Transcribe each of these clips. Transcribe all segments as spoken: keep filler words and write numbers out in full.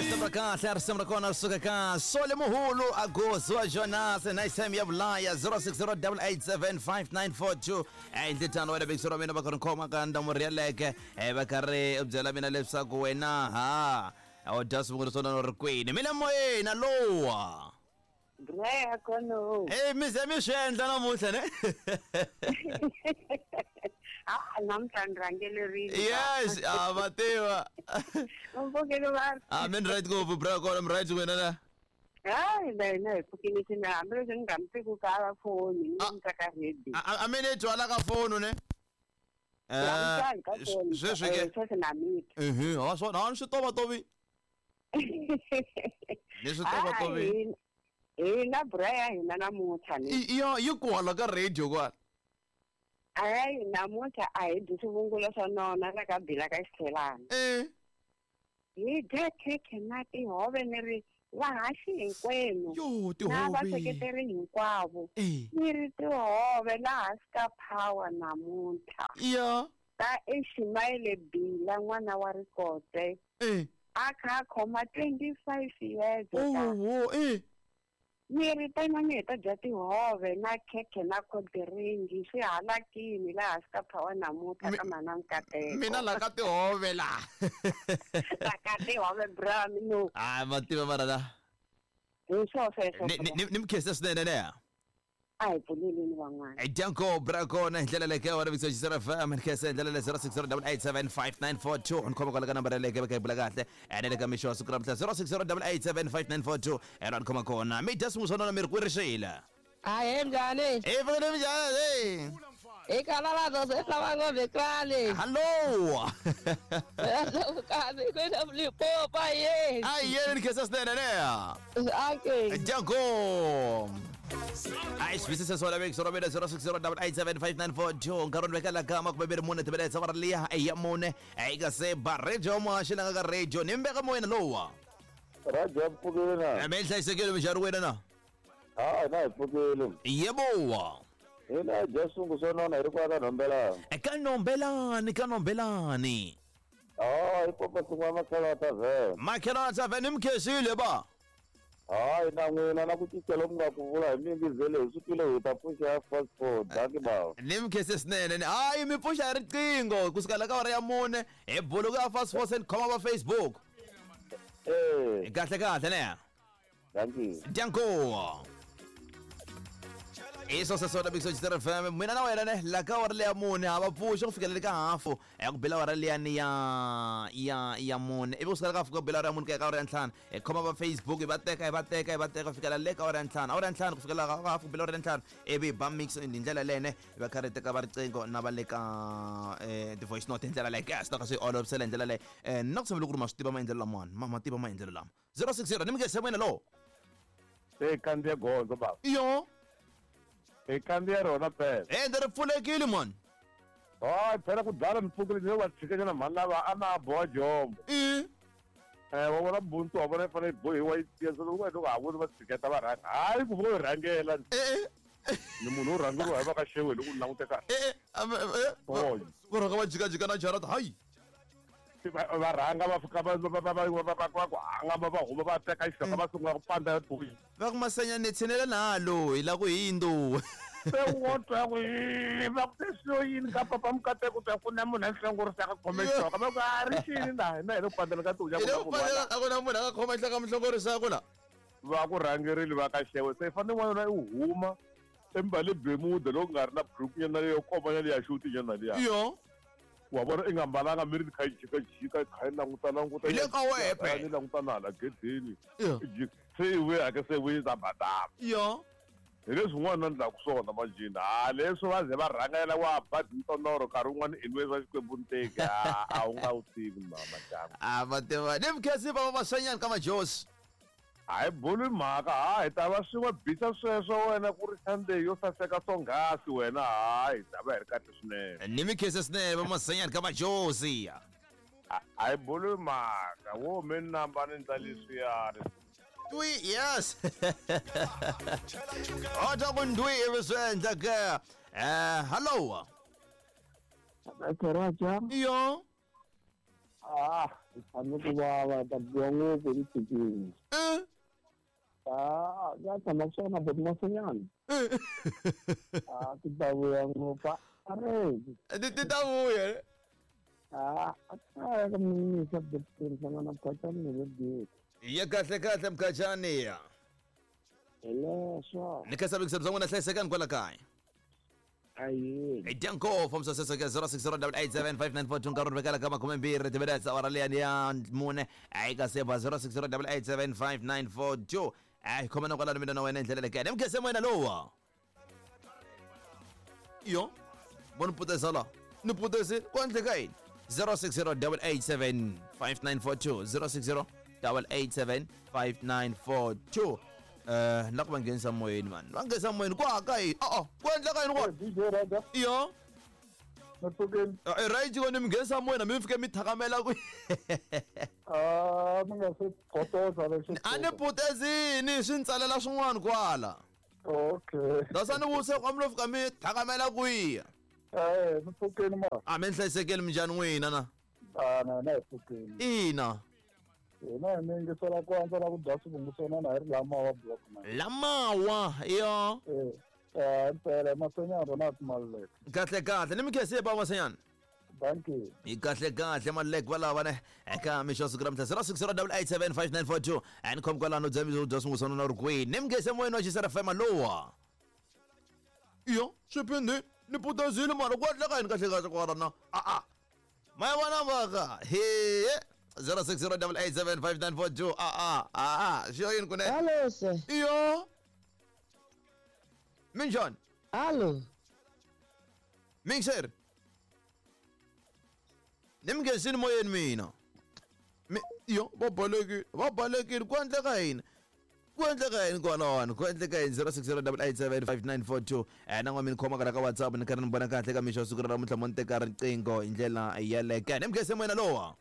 Risimu ra kahle, risimu ra kona ri suka ka Sole Muhulu Agozo Jonas nice time ya vulaya zero six zero double eight seven five nine four two. Eh nditano wena big sura mina va ka ri khoma ka ndamu ri yaleke eh va ka ri byela mina leswaku wena ha o dya swivungu swo ri kwini mina moyeni lowa. Bra kono. Eh mi ze mi swi endla namuntlha ne? Ah namuntlha ni rhangelerile. Yes, ah va tiva. Mpfukile va. Ah min right ngopfu bra kona mi right wena na. Hayi na hi pfukile swinene hambileswi ni nga mi tiki ka foni ni mi ka ready. A mi ni twala ka foni ne? Eh sweswi ke sweswi na mi. Mhm, ha swona ha swi tova tovi. Ni swi tova tovi. Hina bra ya hina namuntlha ni. Yo yi kwala ka radio kwala. Hayi namuntlha a hi dyi swivungulo swa nona la ka bila ka xithelana. Eh. Hi dya khekhe na tihove ni ri vahaxi hinkwenu. Yo tihove. Na vaseketeri hinkwavo. Ni ri tihove laha hansi ka power namuntlha. Ya. Ta Ismail Bila n'wana wa Rikote. Eh. A kha khoma twenty-five years. Oh, oh, eh. Ni ri tanani hi ta dya tihove na khekhe na khodiringi swi halakini laha hansi ka power namuntlha ka mana Nkateko. Mina la ka tihove la. La ka tihove bra mino. Ah ma tiva mara la. Hi swo sweswo. Ni ni ni mkhese swinene ne. A hi pfuleleni van'wana. Hi danko bra kona hi ndlela leke wa Big Star F M mkhese ndlela le zero six zero double eight seven five nine four two ni khoma kwala ka nambara leke va ka bula kahle ene le ka mixo wa siku ra mhla zero six zero double eight seven five nine four two ene ni khoma kona mi dya swin'wana swa nona mi ri kwerixile. Ahe mjani? Eh vele mjani eh. Ikalala zoze hlabango bekrale. Hello. Kazi kwena mlipopa ye. Ai yena nikhesa sinene ne. Okay. Jango. Ai swisisa swala big sura bela zero six zero double eight seven five nine four two nkarhi ni vekela kama kumbe beri mune tibeletsa va ri liya eya mune eka se ba radio muhaxi la nga ka radio ni mbeka moyeni lowa. Radio pfukile na. Mi hlayisekile minjhani wena na? Ah na hi pfukile. Yebo. Hina dya swingu swo nona hi ri kwala ka Nhombelani. Eka Nhombelani ka Nhombelani. Ah hi popa swin'wana Makhelwana Tavern. Makhelwana Tavern ni mkhesile ba. Hayi na n'wina na ku cinca loku nga ku vula hi mingizele hi swi twile hi ta pfuxa ya fast four danki bava. Ni mkhese swinene hayi mi pfuxa hi riqingho kusuka la ka awara ya mune hi buluku ya fast four send khoma va Facebook. Eh. Kahle kahle ne. Danki. Danko. Iso sasona Big Star F M mina na wena ne la ka awara leya mune ha va pfuxa ku fikela le ka hafu ya ku bela awara liyani ya ya ya mune ivi kusuka ka hafu ku bela awara ya mune ku ya ka awara ya ntlhanu hi khoma va Facebook hi va teka hi va teka hi va teka ku fikela le ka awara ya ntlhanu awara ya ntlhanu ku fikela ka hafu ku bela awara ya ntlhanu ivi hi ba mix hi ndlela lene hi va kha ri teka va riqingho na va le ka eh ti-voice note hi ndlela leyi ka swi ta ka swi olovisela hi ndlela leyi eh na ku tshembele ku ri ma swi tiva maendlelo lamawani ma ma tiva maendlelo lama zero six zero ni mi nge wena lowo. Se kandziya gondzo baba. Yo. Hi kandziya rona phela. Eh ndzi ri pfulekile man. Hayi phela ku dlala mi pfukile ni va tshikanyana mhani lava a na boha jombo. Eh. Eh wa vona buntsu wa vona yi fanele yi bohiwa yi tiya so loko va ha voni va tshiketa va rhanga. Hayi ku vo rhangela. Eh. Ni munhu wo rhangeriwa hi va ka xewe loko u languteka. Eh eh. Va rhanga va jikajika na jarata hayi. Va rhanga va fika va va va va va va ku hanga va va huma va teka xihloka va sungula ku panda buyi. Va ku Masenya ni tshinela na loyi la ku hindzu. Se wo twa ku va ku swo yini ka papa Mukateko twa ku na munhu a hlongorisaka khome xihloka va ku a ri xini na hina hi le ku pandela ka tihunya ku pandela a ku na munhu a nga khoma xihloka muhlongorisaka la. Va ku rhangerile va ka xewe se fanele n'wana i huma embale bemuda loko nga ri na buruku nyana leyo koma nyana liya xuti nyana liya. Yo. Wa vona i nga mbalanga miri kha yi jika jika kha yi languta languta hi le ka wehe phela ni languta na hala gedeni se i vuya ke se vuyi ta badama yo hi leswi n'wana na ndlaku swona manjhini ha leswi va ze va rhangela wa ba ntonoro nkarhi wun'wana i nwe swa Xikwembu nteki a wu nga wu tivi mama dyambu a va tiva ni mkhesi va va swanyana ka majosi. Hayi bulu mhaka ha hi ta va swi va bisa sweswo wena ku ri Sunday yo saseka swonghasi wena hayi hi ta va hi ri kahle swinene. Ni mikhese swinene va Masenya ka majosi. Hayi bulu mhaka wo mi namba ni ndla leswiyani. Twi yes. Ota ku ndwi ivi swi endla ke. Eh hello. Raja. Yo. Ah. Tshame ku vava ta biwa ngopfu hi tshikini. Eh. Ah, ya tshama swona but masinyana. Ah, ti ta vuya ngopfu. Are. Ti ti ta vuya. Ah, a ka mina sa betsana na Mkhachani ni le. Ya kahle kahle Mkhachani ya. Hello, so. Ni kasa bikisa bzangu na hlayisekani kwala kaya. Ayi. Danko from Sasaka zero six zero eight seven five nine four two nkarhi vekela ka makume mbirhi timinetse awara liyani ya mune eka seba zero six zero eight seven five nine four two ai khoma na kwalano mina na wena ndlela lekene mkhese wena lowa yo bona putesa la ni putese kwandle ka yini zero six zero eight seven five nine four two zero six zero eight seven five nine four two eh la ku va nghenisa moyeni man va nghenisa moyeni kwa ka yi a a ku endleka yini kwa D J Raja yo Mapfukeni eh right ko ni mi nghenisa moyeni mi fike mi thakamela ku ah mi nga se kotoza lexi a ni putezini swi ntsalela swin'wana kwala okay dasa ni vuse kwa mi lo fika mi thakamela kwiya eh mapfukeni ma a mi hlayisekeli minjhani n'wina na ah na na pfukeni ina ina ni ngisela ku andza la ku dya swivunguswana na hi ri lamawa block man lamawa yo eh eh mpela Masenyana Ronald Malek kahle kahle ni mi khese ba Masenyana thank you hi kahle kahle Malek valava ne eka mixo siku ra mhla zero six zero eight seven five nine four two and khom kwalano dya mi dya swivunguswana na ri kwihi ni mi khese moyeni wa Xisera F M lowa yo swiphindi ni putezile mara ku endleka yini kahle kahle kwala na a a ma ya vona mhaka he zero six zero eight seven five nine four two ah ah ah ah xo yini kunene Hello sir. Iyo minjhani Hello. Mixer ni mi nghenisini moyeni mina mi yo va balekile va balekile ku endleka yini ku endleka yini kwalawani ku endleka yini zero six zero eight seven five nine four two eh na n'wa mi ni khoma ka la ka WhatsApp ni karhi ni vona kahle ka mixo wa siku ra namuntlha mo ni teka riqingho hi ndlela yeleke ni mi nghenise moyeni lowa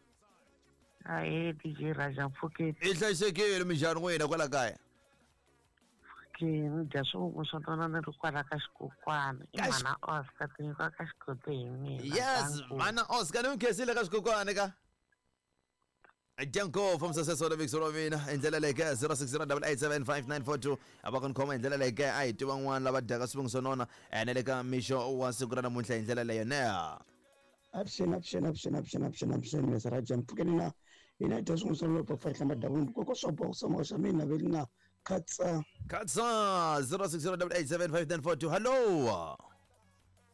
Ahe D J Raja Phuket i hlayisekile minjhani n'wina kwala kaya ke ni dya swivunguswana ni ri kwala ka xikokwana i Ka xi- mana Oscar ti nyikiwa ka xikoto hi mina yes Danko. mana Oscar ni mi khensile ka xikokwani ka Danko from Success Order Mix wa mina hi ndlela leyi ka zero six zero eight seven five nine four two a va ku ni khoma hi ndlela leyi ka a hi tiva van'wana lava dyaka swivunguswanona ene le ka mixo wa siku ra namuntlha hi ndlela leyo ne Avuxeni avuxeni avuxeni avuxeni avuxeni avuxeni Mister Raja mpfukeni na hina dya swivunguswana loko fa hlamba davulu koko swa boxa swa xa mina veli na khatsa Khatsa zero six zero eight seven five nine four two hello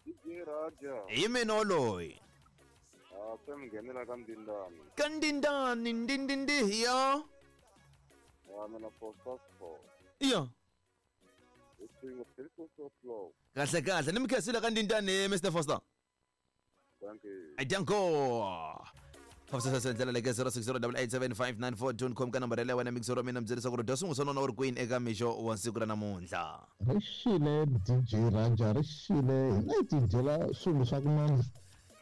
D J Raja hi mina woloyi ah se mi nghenela ka Ndindani ka Ndindani ndindindi ya ah mina for four ya it's three flow kahle kahle ni mi khensile ka Ndindani Mister Foster thank you Danko Fafisa ndlela leke zero six zero eight seven five nine four two khom ka nambara leyi wena mixero mina mi byelisa ku ri dya swivunguswana u ri kwini eka mixo wa siku ra namuntlha ri xile D J Raja ri xile hina hi tidyela swilo swa kunene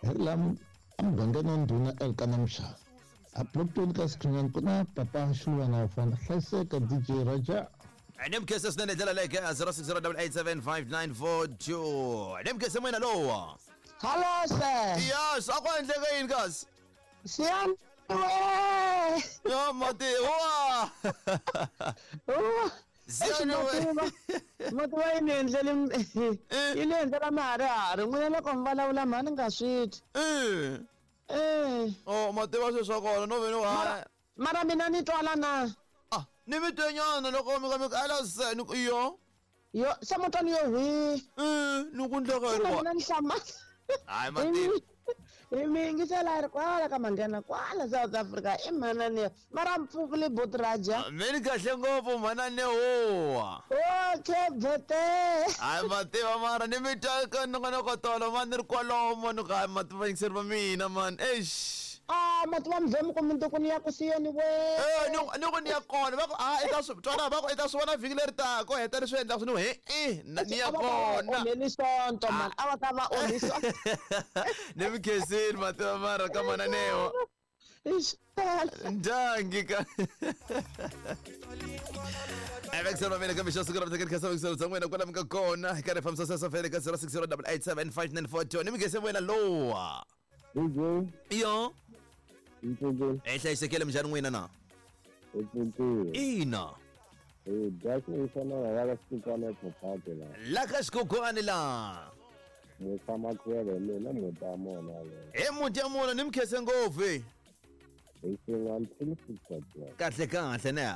hi ri laha emugangeni wa ndhuna Elkana Mshana a block ka Sikhinyani ku na papa Xilwana wa fana hlayiseka D J Raja ni mi khese swinene ndlela leke zero six zero eight seven five nine four two ni mi khese moyena lowa Hello sir. yes a ku endleka yini kasi Siyani we. yo mati wa Siyani we Mati wa yi ni endlele yi ni endlela maharihari n'wina loko mi vulavula mhani nga swi twi. Eh Eh. oh mativa sweswo swa kona no ve ni wa Mara mina ni twala na. ah ni mi twenyana loko mi ka mi ala se ni ku yo Yo se mutwani yo hwi. eh ni ku endleka yini Mina kwa mina ni hlamala. hayi mati Hi mi yingisela ri kwala ka Mandena kwala South Africa i mhanani mara mpfukile bot Raja. mi ni kahle ngopfu mhanani huwa Okay bote. hayi mativa mara ni mi twa ka nongonoko tolo mani ni ri kwalomo ni ku hayi mativa yingiseri va mina mani eish Ah mati va mvemu ku minduku ni ya ku siyeni we. Eh ni ni ku ni ya kona va ku a i ta swi twana va ku i ta swi vona vhiki leri taka ko heta ni swi endlaka swi ni he i ni ya kona onheli sonto mani a va ta va onhi sonto. ni mi khensile mativa mara ka mananeho ndyangi ka Evexel va mina ka mixo siku ra vutleketli kha Evexel bya n'wina kwala mi nga kona hi karhi hi fambisa sweswo fele ka zero six zero eight seven five nine four two ni mi khese wena lowa D J yo Mpfukeni. E hlayisekile minjhani n'wina na? Mpfukeni. Ina. Eh, dya swin'wana la ka xikukwana ePhophape la. La ka xikukwana la. Ni tshama kwele mina muti wa mona le. E muti ya mona ni mi khense ngopfu. Hi swin'we until six o'clock. Kahle kahle ne.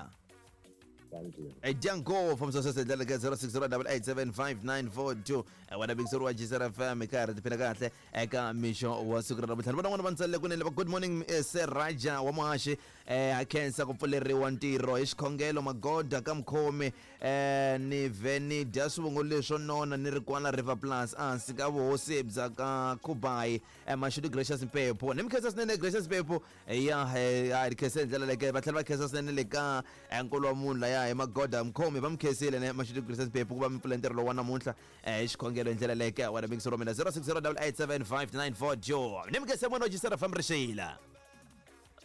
Thank you. E dya ngopfu msosese ndlela ka zero six zero eight eight seven five nine four two. Wena Big wa G C R F M ka ri tiphina kahle eka mixo wa siku ra namuntlha. Ni vona n'wana va ntsalele kunene va good morning Sir Raja wa Muhaxi eh a khensa ku pfuleriwa ntirho hi xikhongelo magoda ka mukhomi eh ni vhe ni dya swivongo leswo nona ni ri kwala River Plus hansi ka vuhosi bya ka Kubai Mashudu Gracious Mpepo. Ni mi khensa swinene Gracious Mpepo ya a ri khensa hi ndlela leke va tlhela va khensa swinene le ka nkulu wa munhu laya hi magoda mukhomi va mi khensile ne Mashudu Gracious Mpepo ku va mi pfula ntirho lowu wa namuntlha eh xikhongelo hi ndlela leke wena Big Soro mina zero six zero eight eight seven five nine four two. Ni mi khensa mwana wa G C R F M Rixila.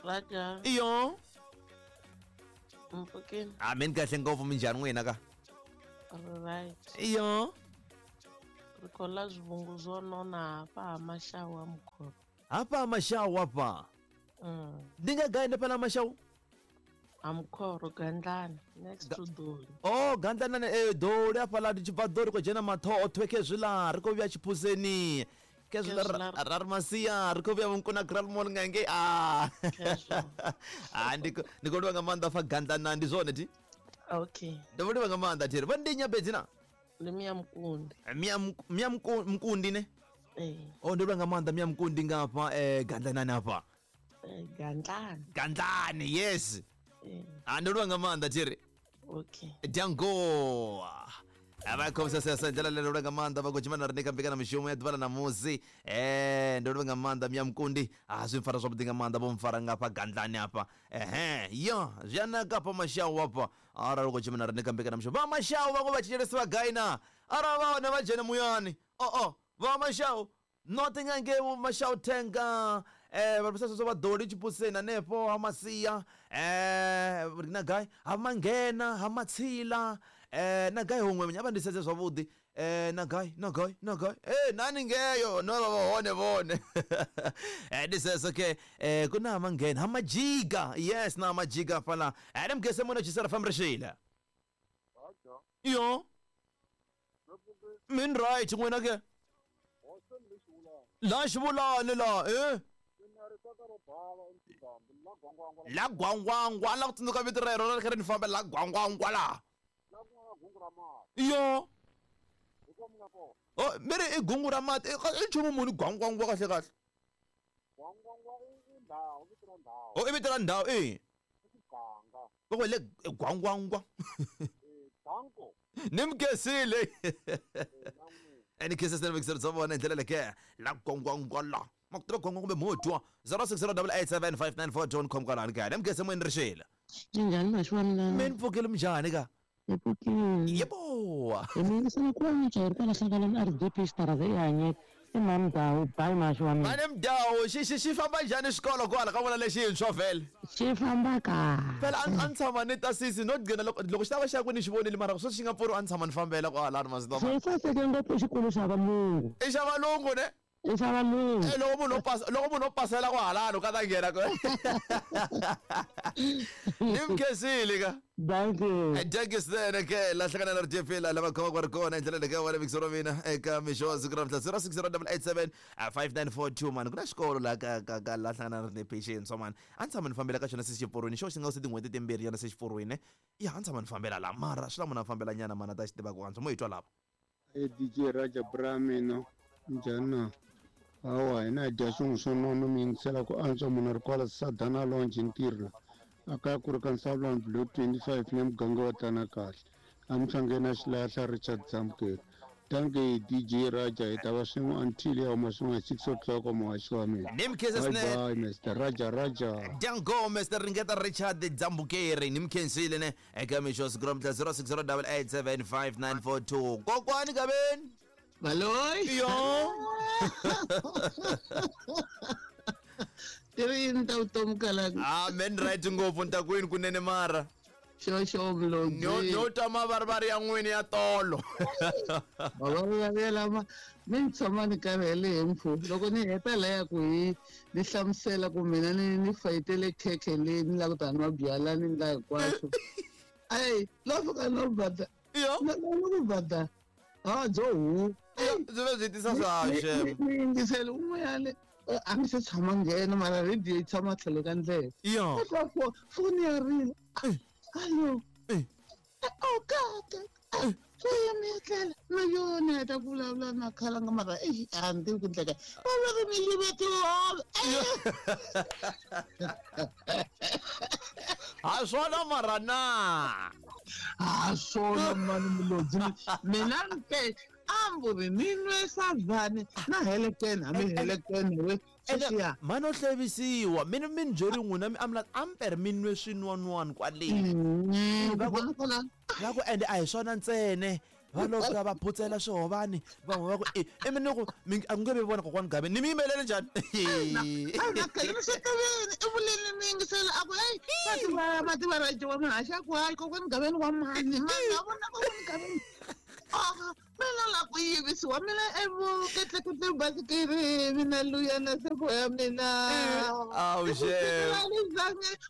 Raja. Iyo. Mpfukeni. Amen kahle ngopfu minjhani n'wina ka? Right. Iyo. Ri khou ḽa zwivhungu zwo nona hafha ha Mashau ha Mukhoro. Hafha ha Mashau hafha? Mm. Ndi nga gai ndi fhaḽa Mashau? Ha Mukhoro Gandlani next to Doli. Oh Gandlani eh Doli hafhaḽa ndi tshi bva Doli khou dzhena Mathoho khezwiḽa ri khou vhuya Tshiphuseni. Khezwiḽa ra ri Masia ri khou vhuya Vhunkuna Grand Mall nga ngei ah. Ah ndi ndi khou livha nga maanḓa fa Gandlani ndi zwone thi? Okay. Ndo vho livha nga maanḓa thi. Vha ndi Nyabedzi na? Ndi Mia Mkundi. Mia Mia Mkundi ne? Eh. Oh ndo livha nga maanḓa Mia Mkundi ngafha eh Gandlani hafha. Eh Gandlani. Gandlani yes. Eh. Ah ndo livha nga maanḓa thi. Okay. Dyango. Ava khomisa sesa ndlela lero nga maanḓa vha khou tshimana ri ka mbekana mishumo ya ḓuvha ḽa ṋamusi eh ndo livha nga maanḓa Mia Mkundi a zwi mpfara zwavhuḓi nga maanḓa vho mpfara ngafha Gandlani hafha ehe yo zwi a naka hafha Mashau hafha arali u khou tshimana ri ka mbekana mishumo vha Mashau vhaṅwe vha thetshelesi vha gai na arali vha hone vha dzhene muyani o o vha Mashau noṱhe nga ngei vho Mashau thenga eh vha sasa vha Doli Tshiphuseni hanefho ha Masia eh ri na gai ha Mangena ha Matsila eh na gai huṅwe nya vha ndi sedze zwavhuḓi eh na gai na gai na gai eh nani ngeyo no vha hone vhone eh ndi sese ke eh kuna Mangena ha Majiga yes na Majiga fala eh mgese mona Chisara fam Rishila yo min right n'wina ke la xivulani la eh la gwangwangwa la ku tsundzuka vito rero ra ri kha ri ni famba la gwangwangwa la yo oh miri i gungu ra mati i nchumu muni gwangwangwa kahle kahle oh i vito ra ndhawu i va ku le gwangwangwa ni mi khensile ni khensa swinene vekiseri bya vona hi ndlela leke la gwangwangwa la ma ku tiva gwangwa kumbe mo twa zero six zero eight seven five nine four two khom kwalani kaya ni mi khense moyeni Rixila. Minjhani maxi wa mina? Mi ni pfukile minjhani ka? Hi pfukile. Yebo. Hi mi yingisela ku va ri kwala hlanganani R D P xitarata i hanyeke i mhani Mdawu bayi maxi wa mina. Mhani Mdawu xi xi xi famba njhani xikolo kwala ka vona lexintshwa vhele? Xi famba kahle. Phela a ni tshama ni ta sisi no gcina loko loko xi ta va xa ku ni xi vonile mara sweswi xi nga pfuri a ni tshama ni fambela kwalani masiku Xi saseke ngopfu xikolo xa valungu. I xa valungu ne? I xa valungu. Eh loko munhu o pasa loko munhu o pasela kwahalano ka ta nghena ko. Ni mi khensile ka. Thank you. Thank you swinene ke la hlangana na R D P la lava khomaka va ri kona hi ndlela leke wena Big Soro mina eka mixo wa siku ra namuntlha zero six zero eight seven five nine four two mani ku na xikolo la ka ka ka la hlangana na R D P xintshwa mani a ni tshama ni fambela ka xona se xipfurwini xo xi nga se tin'hweti timbirhi nyana se xipfurwini ya a ni tshama ni fambela la mara swi la munhu a fambela nyana mani a ta xi tiva ku antswa mo hi twa lava. E D J Raja Bramino njhani na? Hawa hina hi dya swin'we swo nona mi yingisela ku antswa munhu ri kwala Sadana Lounge ntirho a kaya ku ri ka Nsawulani Blue twenty-five le muganga wa tana kahle a muhlangeni a xilahla Richard Zamukeri. Thank you D J Raja hi ta va swin'we until ya huma swin'we hi six o'clock muhaxi wa mina. Ni mi khensa Bye swinene. bye Mister Raja Raja. Dango Mister Ringeta Richard Dzambukeri ni mi khensile ne eka mixo wa siku ra namuntlha zero six zero eight seven five nine four two kokwani kaveni. Baloyi. Yo. Ti ri yini ta vutomi kalaka? Ah men right ngopfu ntakwini kunene mara. Xo xo Mlodzi. No twa mavarivari ya n'wini ya tolo. Mavarivari lama mi ni tshama ni karhele hi mpfu loko ni heta laya ku hi ni hlamusela ku mina ni ni fayitele khekhe leyi ni lava ku ta nwa byala ni ndla hinkwaswo. Ayi lo fika no bada. Yo. No ku bada. Ah byo hu. Byi va byi tisa swaxe. Ni yingisele un'wanyana a ni se tshama nghena mara radio yi tshama tlhelo ka ndlela. Yo. Foni ya rila. Allo. Oh God. Swi na yona heta ku vulavula na khalanga mara eyi a ni tivi ku ndleka. Va va ri mi yive tihove. Ha swona mara na. Ha swona mani Mlodzi. Mina ni te amburi ni nwesa vani na helekeni a mi helekeni we. Mani o hlevisiwa mina mi ni byeri n'wina mi amla amper mi nwe swinwanwani kwale. Va ku va ku ende a hi swona ntsena va lo fika va phutsela swihovani van'we va ku e i mi ni ku a ku nge vi vona kokwani Gabe ni mi yimelele njhani. Na khale mi swi tivini i vuleni mi yingisela a ku heyi mativa mativa ra wa mahaxa ku hayi kokwani Gabeni wa mani mani a vona kokwani Gabeni. Ah, mina la ku yivisiwa mina evuketleketle basikiri mina luya na sefo ya mina. Awu xe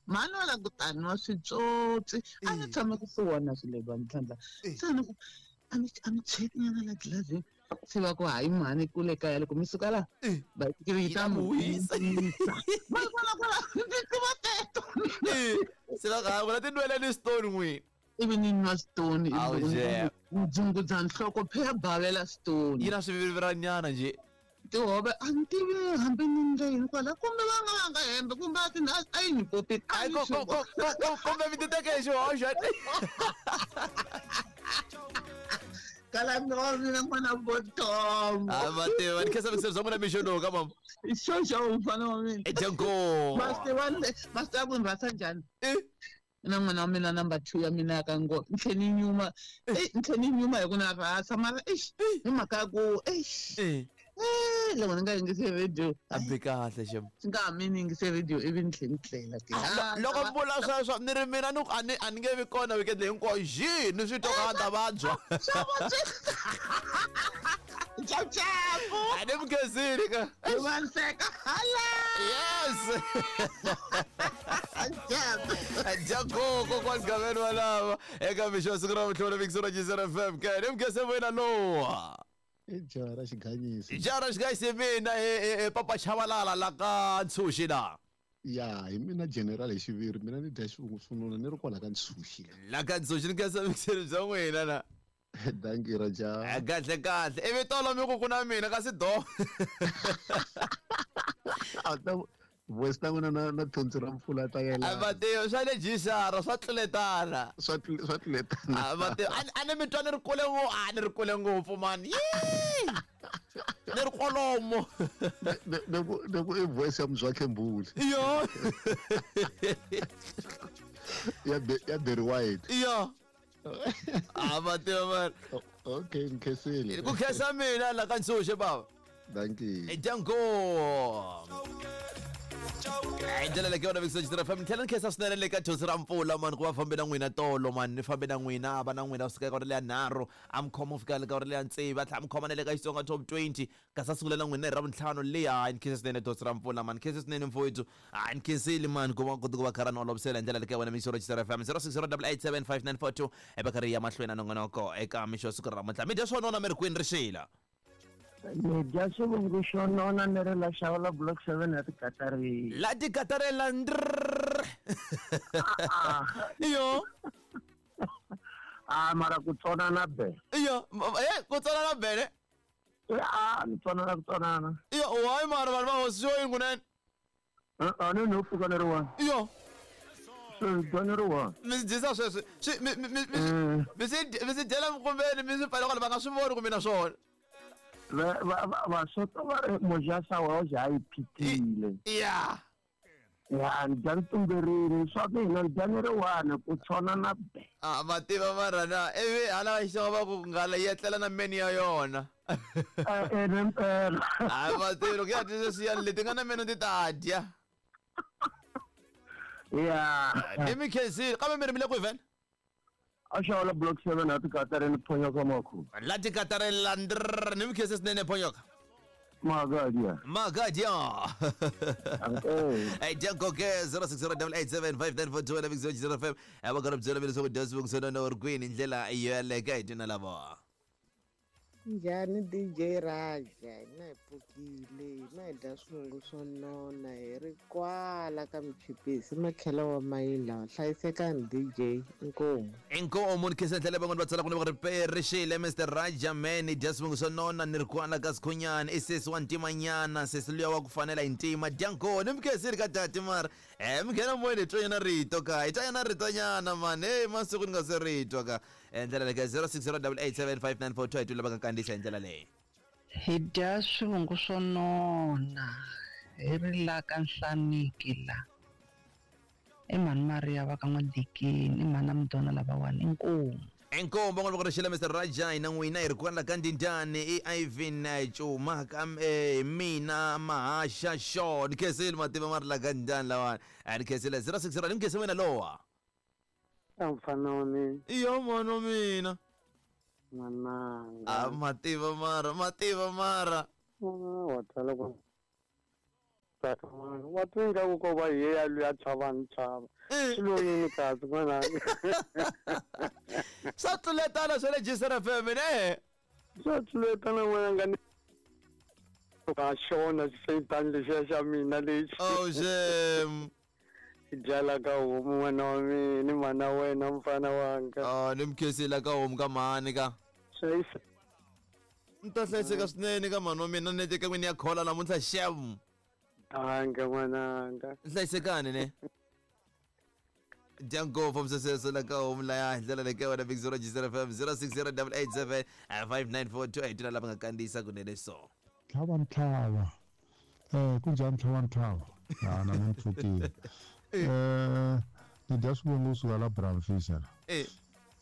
mani wa la ku taniwa switsotsi a ni tshama ku swi vona swilo leswi ntlhantlha se ni ku a mi a mi cheki nyana la dlilazini se va ku hayi mhani kule kaya loko mi suka la basikiri yi ta mi wisa va vona kwala ndzi tiva teto se va ku vula tinweleni stone n'wini. Ivi ni nwa stone dzungudza nhloko phe ya bavela stone yi na swiviviranyana nje tihove a ni tivi hambi ni ndla yini kwala kumbe va nga va nga hembe kumbe a ti a yi ni popini kumbe mi ti teke hi xihoxo kala no mina n'wana botom. A va tiva ni khensa mikiselo bya n'wina mixo lowu ka mama. Xo xo mfana wa mina. Ejango. Ma swi tiva ma swi tiva ku ni rhasa njhani? Na n'wana wa mina number two ya mina ya ka ngo ni tlhe ni nyuma ni tlhe ni nyuma hi ku na rhasa mara eish hi mhaka ya ku eish eh loko ni nga yingisi radio a bi kahle xem swi nga ha mi ni yingise radio ivi ni tlhe ni tlela ke loko mi vula sweswo ni ri mina ni ku a ni a ni nge vi kona weekend leyi hinkwayo xi ni swi twa ka ta vabya Ciao ciao. A ni mi khensile ka Vanseka hala. Yes. Jago kokwani Gabeni wa lava eka mixo wa siku ra vutlhelo Mixo ra F M ke ni mi khense wena lowa. I jaha ra xiganyisi. Jaha ra xiganyisi mina e papa Chabalala la ka Ntshuxi la. Ya hi mina general hi xiviri mina ni dya xivungu swinuna ni ri kwala ka Ntshuxi. La ka Ntshuxi ni khensa mixelo bya n'wina na. Dankie Raja. Kahle kahle ivi tolo mi ku ku na mina kasi do. Voice ta n'wina na na thonsi ra mpfula ta yelana. A va tivi swa le jisara swa tluletana. Swa swa tluletana. A va tivi a ni mi twa ni ri kule ngopfu a ni ri kule ngopfu mani. Ni ri kwalomo. Ne ku ne ku i voice ya Mzwakhe Mbuli. Yo. Ya ya Barry White. Yo. A va tiva mani. Okay, nkhensile. Ku khensa mina la ka Ntshuxe baba. Dankie. Danko. Hi ndlela leyi yona Mixo F M ni tlhela ni khensa swinene le ka Thonsi ra Mpfula mani ku va fambe na n'wina tolo mani ni fambe na n'wina va na n'wina kusuka eka leya nharhu a mi khoma ku fika le ka leya tsevu a tlhela mi khoma na le ka Xitsonga Top twenty kasi a sungula na n'wina hi ra vuntlhanu leya ni khensa swinene Thonsi ra Mpfula mani khensa swinene mfowethu a ni khensile mani ku va kota ku va kha ra ni olovisela hi ndlela leyi ka wena Mixo F M zero six zero double eight seven five nine four two e va karhi ya mahlweni na nongonoko eka mixo siku ra namuntlha mi dya swo nona mi ri kwini rixila. Ni dya xivungu xo nona ni ri la xava block seven ya tikatarini. La tikatarela ndrrr. Iyo. Ah mara ku tsonana be. Iyo, eh ku tsonana be ne? Ah ni tsonana ku tsonana. Iyo, why mara vanhu va hosi yo yingunene? A ni no pfuka ni ri one. Iyo. Swi dya ni ri one. Mi swi dyisa sweswi. Swi mi mi mi mi swi mi swi dyela minkumbeni mi swi pfala kwala va nga swi voni ku mina swona. Va va va soto va ri mojasa wa ja yi phitile. Ya. Ya ni dya ni tumberile swa mina ni dya ni ri one ku tshona na be. Ah va tiva mara na ivi hala xitsonga va ku nghala yi etlela na meni ya yona. Eh eh. Ah va tiva loko ya dya sweswiya leti nga na meno ti ta dya. Ya. Ni mi khensile kambe mi ri mi le kwihi vhele? A xawula block seven a tikatareni phonyoka makhu. La tikatareni ndr ni mkhese sinene phonyoka. Magadia. Magadia. Hey, Janko K zero six zero eight eight seven five nine four two na Big Zero zero F M. Aba ka byela mina swa ku dya swivungu swa nona uri kwini ndlela yeleka hi twina lava. Njhani D J Raja, hina hi pfukile, hina hi dya swivungu swo nona hi ri kwala ka Michipisi makhelo wa mayila. Hlayisekani D J, inkomu. Inkomu ni khensa ndlela van'wani va tsala ku ni va ri perixile Mister Raja man, hi dya swivungu swo nona ni ri kwala ka Sikhunyana, i sesi wa ntimanyana, sesi luya wa ku fanela hi ntima. Dyanko ni mi khensile ka tati mara eh mi nghena moyeni hi twanyana rito ka hi twanyana ritonyana man, hey masiku ni nga se ritwa ka ndlela leyi zero six zero eight eight seven five nine four two hi twile va ka kandziyisa hi ndlela leyi. Hi dya swivungu swo nona hi ri la ka Nhlaniki la i mhani Maria va ka N'wadikini, i mhani Mdona lavawani, inkomu. Inkomu van'wana va ku rixile Mister Raja, hina n'wina hi ri kwala ka Ndindani, i Ivan Cuma ka mina Mahasha Shaw. Ni khensile mativa ma ri la ka Ndindani lawani, a ni khensile zero six zero ni khense wena lowa. Mfana wa mina. Iyo mwana wa mina. Mananga. Ah, mativa mara, mativa mara. Wa tsala ku tsaka mara. Wa twinga ku ko va hi ya luya chava ni chava. Swilo yini kasi n'wana. Swa tluletana swa le G S R F M ne? Swa tluletana n'wana nga ni ka xona xifeyitani lexiya xa mina lexi. Oh shame. Dyala ka homu n'wana wa mina ni mana wena mfana wanga. Ah, ni mkhensile ka homu ka mhani ka. Hlayisa. Ni ta hlayiseka swinene ka mhani wa mina nete ka n'wini ya khola namuntlha xem. Anga n'wananga. Hlayisekani ne. Dyanko from Sesese la ka homu laya hi ndlela leyi ka wena Big Zero G zero F M zero six zero eight eight seven five nine four two eight lava nga kandziyisa kunene so. Tlhava ntlhava. Eh kunjhani tlhava ntlhava? Ah na mi pfukile. Eh ni dya swivungu kusuka la Bramfisher. Eh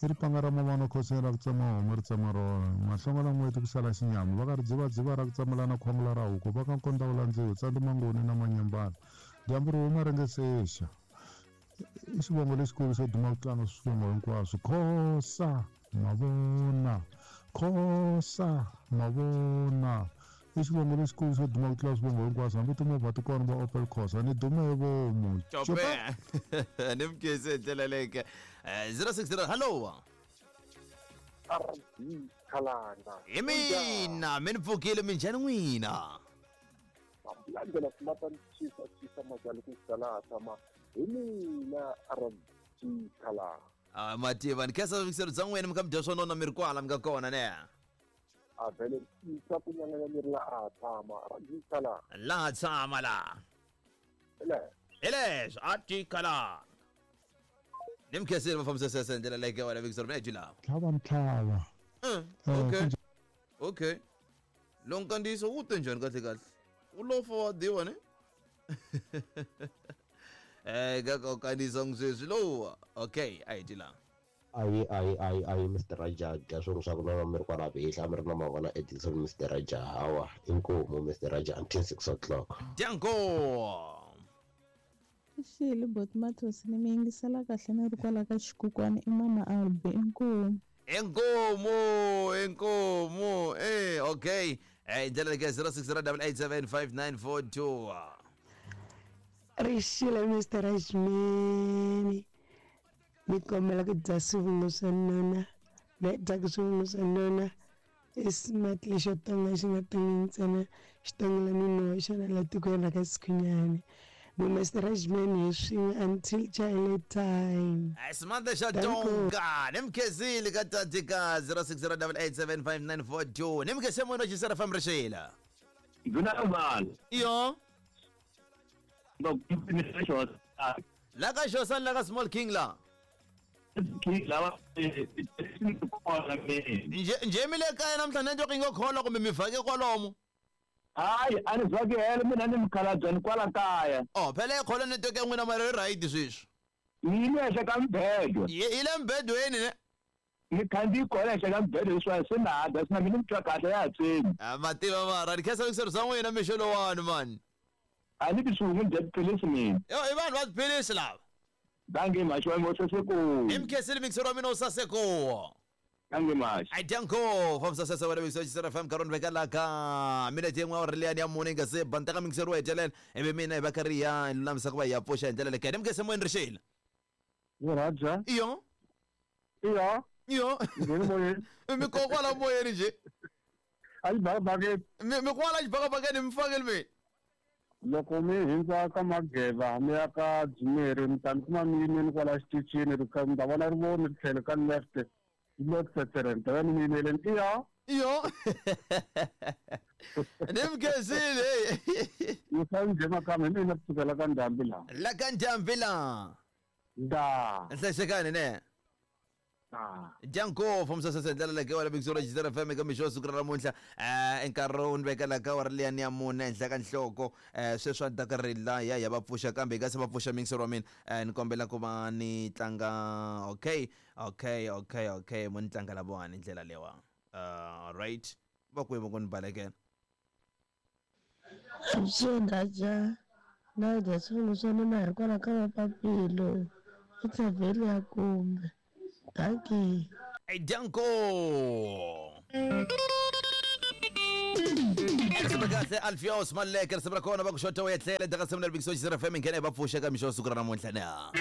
i ripanga ra mavana khoseni ra ku tsema homu ri tsema rona mahlongo la n'weti ku sala xinyama va ka ri dzivadziva ra ku tsemelana khwangula ra huku va ka nkonda wu landziwe tsandzi mangoni na manyambana dyambu ri huma ri nge sexa i xivongo lexikulu xo duma ku tlanga swivongo hinkwaswo khosa mavona khosa mavona i xivongo lexikulu xo duma ku tlula swivongo hinkwaswo hambi timovha ti kona va Opel Corsa ni dume hi vomu. Cope ni mkhese hi ndlela leyi zero six zero hello. R D Khalanga. Hi mina mi ni pfukile minjhani n'wina? Landela smata ni chisa chisa majali ku sala tshama hi mina R D Khalanga. Ah mativa ni khensa vikiselo bya n'wina mi kha mi dya swo nona mi ri kwala mi nga kona ne. A vele tisa ku nyanganya mi ri la a tshama R D Khalanga. La tshama la. Hele. Hele R D Khalanga. Ni mkhensile va fambisa sese ndlela leyi ka wena vikiselo mi la. Tlhava ntlhava. Okay. Okay. Lo nkandziyiso wu te njhani kahle kahle? U lo fa wa diwa ne? Eh ka ka kandziyisa sweswi lowa. Okay, a hi la. Ayi ayi ayi ayi Mister Raja dya swilo swa ku nona mi ri kwala vihla mi ri na mavona Edison Mister Raja hawa inkomu Mister Raja until six o'clock. Dyanko. Xile bot Mathosi ni mi yingisela kahle ni ri kwala ka xikukwani i mama Albi inkomu. Inkomu inkomu eh okay. Eh ndlela leyi zero six zero eight eight seven five nine four two. Rixile Mister Rajmani. Ni kombela ku dya swivungu swa nona ni dyaka swivungu swa nona i smart lexo tonga xi nga tongi ntsena xi tongela minoho xona la tikweni ra ka Sikhunyani. Mi Mister Rajmani hi swin'we until chile time. Smart lexo tonga ni mkhensile ka tatika zero six zero eight eight seven five nine four two ni mkhense munhu wa G F M rixile. Nduna Iyo. La ka Xosa la ka Small King la. Nje nje mi le kaya namuntlha network yi nga khola kumbe mi vhake kwalomo? Hayi a ni vhake helo mina ni mukhalabye ni kwala kaya. Oh phela yi khola network ya n'wina mara yi right sweswi. Yi le henhla ka mbhedo. Yi le mbedweni ne? Ni khandziyi kona henhla ka mbhedo leswiwani se na ha dya swi na mina ni twa kahle ya ha tsemi. Ah mativa mara ni khensa vikiselo swa n'wina mixo lowani mani. A ni ti swihungu ni dya tiphilisi mina. Yo i vanhu va tiphilisi lava. Dankie mashi wa moseseko. Hi mkhensile mixero wa mina u saseko. Dankie mashi. Ai danko famsa sasa wa mixero Jizera F M karoni veka la ka minete yin'we awara liyani ya mune nga se ba ni teka mixero wa hetelela ivi mina hi va karhi ya hi lulamisa ku va hi ya pfuxa hi ndlela leyi ni mkhensile moyeni rixile. Yo Raja. Iyo. Iyo. Iyo. Ngeni moyeni. Mi ko kwala moyeni nje. Ayi bakabakeni. Mi mi kwala xibakabakeni mi fakeli mi. Loko mi hindza ka Mageva mi ya ka Dzumeri mi ta mi kuma mi yimeni kwala xitichini ri mi ta vona rivoni ri tlhelo ka left left mi ta va ni mi yimeleni iya. Iyo. Ni mkhensile. Ni fa njhe makamba hi mina kusukela ka Ndhambi laha. La ka Ndhambi laha. Nda. Nhlayisekani ne. Janko from sasa ndlela leyi wala big Jizera F M eka mixo siku ra namuntlha eh nkarhi wu ni vekela ka awara liyani ya mune henhla ka nhloko eh sweswi a ni ta ka ri la ya ya va pfuxa kambe hi nga se va pfuxa mixero wa mina eh ni kombela ku va ni tlanga okay okay okay okay mo ni tlanga lavawani ndlela lewa uh right va kwihi va ku ni balekela. Avuxeni Raja, na dya swivungu swa nona hi ri kwala ka Mapapilo i tshavheli ya kumbe. Dankie. Hey, Danko. Kahle Alfios Maleke risimu ra kona va ku xota u etlela eka simu leri Big Jizera F M nghena hi va pfuxa ka mixo siku ra namuntlha na.